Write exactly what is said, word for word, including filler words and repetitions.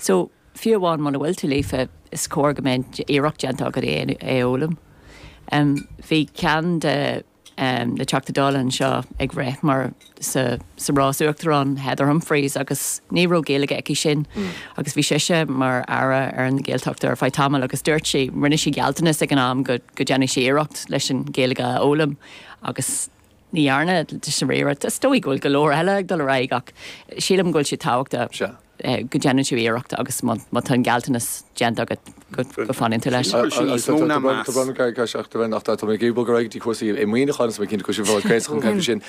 So fiú amháin muna bhfuil tú líofa is cóir go mbeadh iarracht déanta agat é a fhoghlaim. Um, bhí ceann de um, na Teachtaí Dála anseo ag rith mar sa, sa rás uachtarán Heather Humphreys agus ní raibh Gaeilge aici sin mm. agus bhí sise mar aire ar an Ghaeltacht ar feadh tamaill agus dúirt sí rinne sí gealltanas ag an am go go ndéanfaidh sí iarracht leis an Ghaeilge a fhoghlaim agus ní dhearna sí iarracht is dóigh go bhfuil go leor eile ag dul ar aghaidh ach sílim go bhfuil sé tábhachtach eh, go ndéanann tú iarracht agus má tá an gealltanas déanta agat go bhfanann tú leis. Tá mé ag bog go dtí cúrsaí i maoiniúcháin is mé cinnte go sin sin.